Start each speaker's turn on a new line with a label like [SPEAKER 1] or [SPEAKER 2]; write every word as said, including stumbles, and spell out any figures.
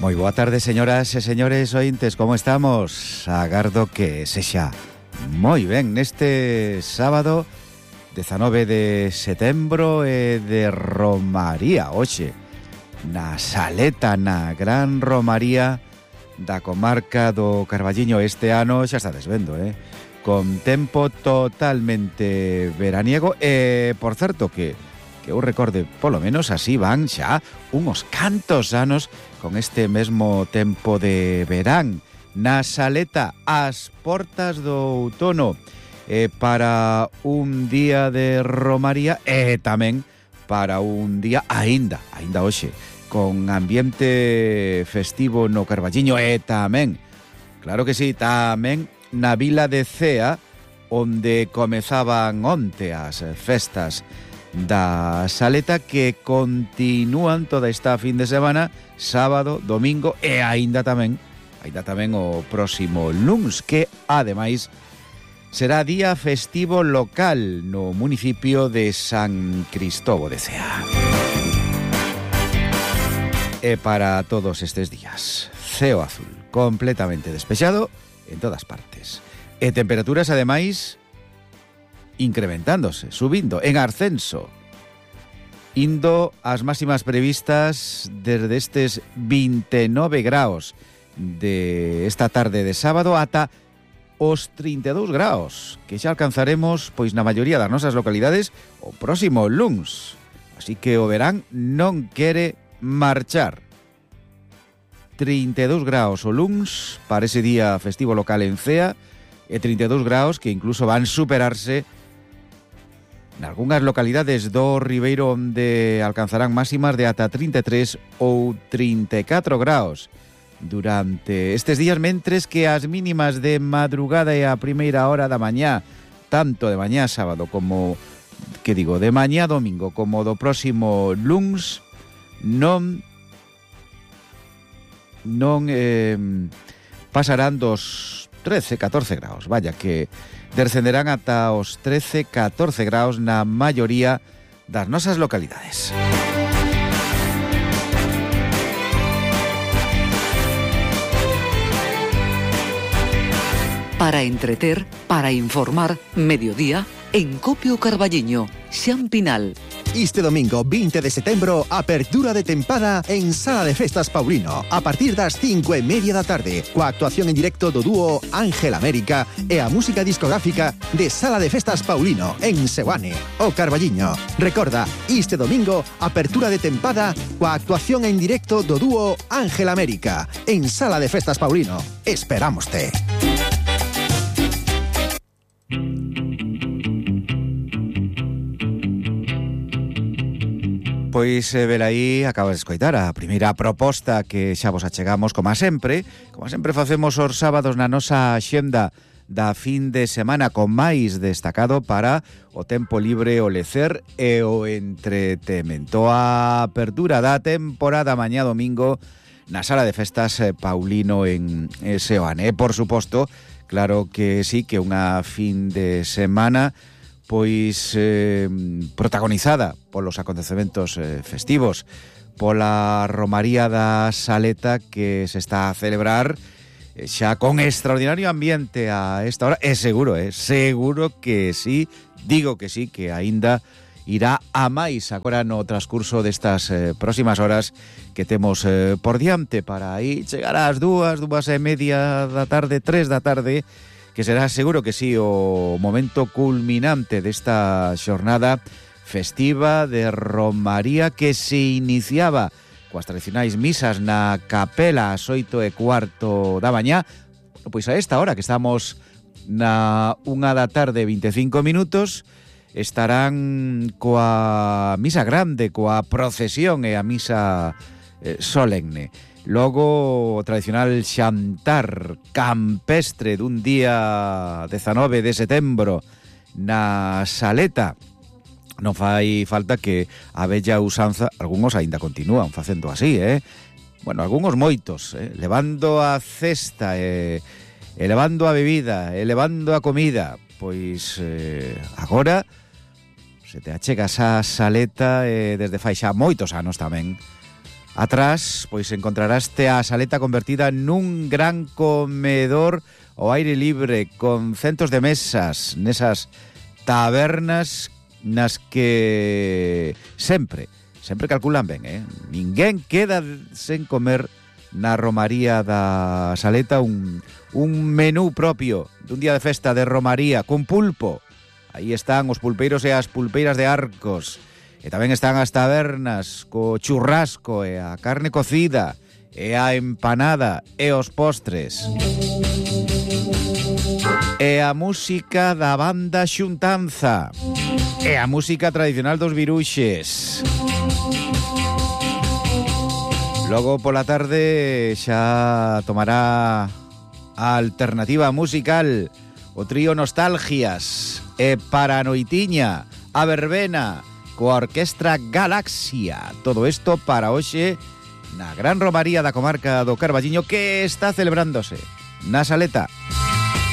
[SPEAKER 1] Moi boa tarde, señoras e señores ointes, como estamos? Agardo que sexa moi ben neste sábado dezanove de setembro e de Romaría, hoxe na Saleta, na Gran Romaría da comarca do Carballiño. Este ano xa está desvendo, eh? Con tempo totalmente veraniego e, por certo, que que eu recorde, polo menos así van xa unhos cantos anos con este mesmo tempo de verán na Saleta, ás portas do outono, eh, para un día de Romaría e tamén para un día aínda, aínda hoxe, con ambiente festivo no Carballiño e tamén, claro que sí, tamén na vila de Cea, onde comezaban onte as festas da Saleta, que continúan toda esta fin de semana, sábado, domingo e aínda tamén, aínda tamén o próximo luns, que ademais será día festivo local no municipio de San Cristovo de Cea. E para todos estes días, ceo azul, completamente despexado en todas partes. E temperaturas, ademais, incrementándose, subindo, en ascenso, indo as máximas previstas desde estes veintinueve graos de esta tarde de sábado ata os trinta e dous graos, que xa alcanzaremos pois na maioría das nosas localidades o próximo luns. Así que o verán non quere marchar. trinta e dous graos o luns para ese día festivo local en Cea e trinta e dous graos que incluso van superarse nalgunhas localidades do Ribeiro, onde alcanzarán máximas de ata trinta e tres ou trinta e catro graos durante estes días, mentres que as mínimas de madrugada e a primeira hora da mañá, tanto de mañá sábado como, que digo, de mañá domingo, como do próximo luns, non non eh, pasarán dos trece, catorce graos, vaya, que descenderán ata os trece, catorce graos na maioría das nosas localidades.
[SPEAKER 2] Para entreter, para informar, mediodía, en Copio Carballiño, Xan Pinal.
[SPEAKER 3] Este domingo veinte de setembro, apertura de tempada en Sala de Festas Paulino, a partir das cinco e media da tarde, coa actuación en directo do dúo Ángel América e a música discográfica de Sala de Festas Paulino en Seoane, o Carballiño. Recorda, este domingo, apertura de tempada coa actuación en directo do dúo Ángel América en Sala de Festas Paulino. Esperámoste.
[SPEAKER 1] Pois, eh, velaí, acabas de escoitar a primeira proposta que xa vos achegamos, como sempre, como sempre facemos os sábados na nosa xenda da fin de semana, con máis destacado para o tempo libre, o lecer e o entretemento. A apertura da temporada mañá domingo na Sala de Festas Paulino en Seoane. Por suposto, claro que sí, que unha fin de semana pois eh, protagonizada polos acontecementos eh, festivos, pola Romaría da Saleta, que se está a celebrar eh, xa con extraordinario ambiente a esta hora, e seguro, eh, seguro que sí, digo que sí, que aínda irá a máis agora no transcurso destas eh, próximas horas que temos eh, por diante, para aí chegar ás dúas, dúas e media da tarde, tres da tarde, que será seguro que sí o momento culminante desta xornada festiva de Romaría, que se iniciaba coas tradicionais misas na capela ás oito e cuarto da mañá. Pois a esta hora que estamos na unha da tarde vinte e cinco minutos, estarán coa misa grande, coa procesión e a misa eh, solemne. Logo, o tradicional xantar campestre dun día dezanove de setembro na Saleta. Non fai falta que a bella usanza, algúns aínda continúan facendo así, eh? Bueno, algúns moitos, eh? Levando a cesta, eh? elevando a bebida, elevando a comida. Pois eh, agora se te achegas a Saleta, eh, desde fai xa moitos anos tamén, Atrás, pois encontraraste a saleta convertida nun gran comedor ao aire libre, con centos de mesas nesas tabernas nas que sempre, sempre calculan ben, eh? Ninguén queda sen comer na romaría da Saleta un, un menú propio dun día de festa de romaría con pulpo. Aí están os pulpeiros e as pulpeiras de Arcos. E tamén están as tabernas co churrasco e a carne cocida e a empanada e os postres. E a música da banda Xuntanza. E a música tradicional dos Viruxes. Logo pola tarde xa tomará a alternativa musical o trío Nostalgias e para a noitiña a verbena coa Orquestra Galaxia. Todo isto para hoxe na gran romaría da comarca do Carballiño que está celebrándose na Saleta.